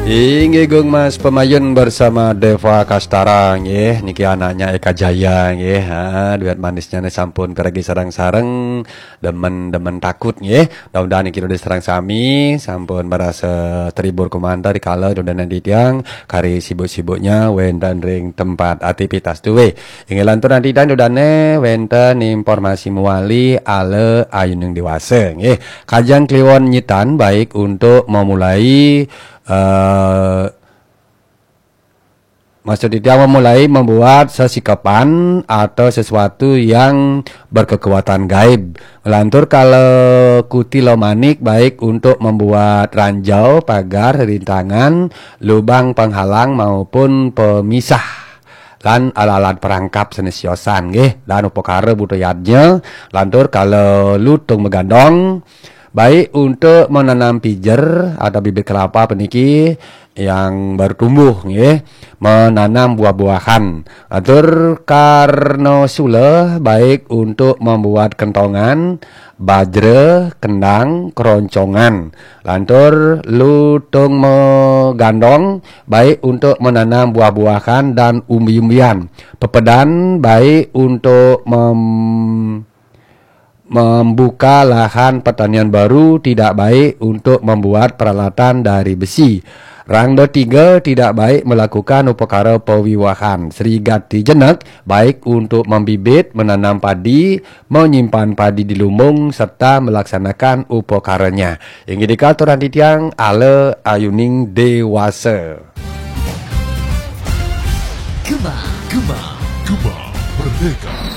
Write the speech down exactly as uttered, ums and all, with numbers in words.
Inggih, Gung Mas Pemayun bersama Deva Kastara nggih, niki anaknya Eka Jaya nggih. Ha, duet manisnya nih sampun piragi sareng-sareng, demen-demen takut nggih. Mudah-mudahan niki sareng sami sampun merasa terhibur kemanten rikala Ida dané titiang kari sibuk-sibuknya wénten ring tempat aktivitas duwé. Inggih, lantur titiang Ida dané wénten informasi mawali ala ayuning déwasa nggih. Kajeng Kliwon Nyitan baik untuk memulai eh, maksud titiang memulai membuat sesikepan atau sesuatu yang berkekuatan gaib. Lantur kalau Kutila Manik baik untuk membuat ranjau, pagar, rintangan, lubang penghalang maupun pemisah lan alat-alat perangkap sané siosan nggih, lan upakara buta yadnya. Lantur kalau Lutung Magandong baik untuk menanam pijer atau bibit kelapa puniki yang baru tumbuh nggih, menanam buah-buahan. Lantur Karna Sula baik untuk membuat kentongan, bajra, kendang, keroncongan. Lantur Lutung Magandong baik untuk menanam buah-buahan dan umbi-umbian. Pepedan baik untuk mem- membuka lahan pertanian baru, tidak baik untuk membuat peralatan dari besi. Rangda Tiga tidak baik melakukan upakara pawiwahan. Sri Gati Jenek baik untuk membibit, menanam padi, menyimpan padi di lumbung, serta melaksanakan upakaranya. Inggih, nika aturang titiang ala ayuning déwasa. Gema, Gema, Gema Merdeka.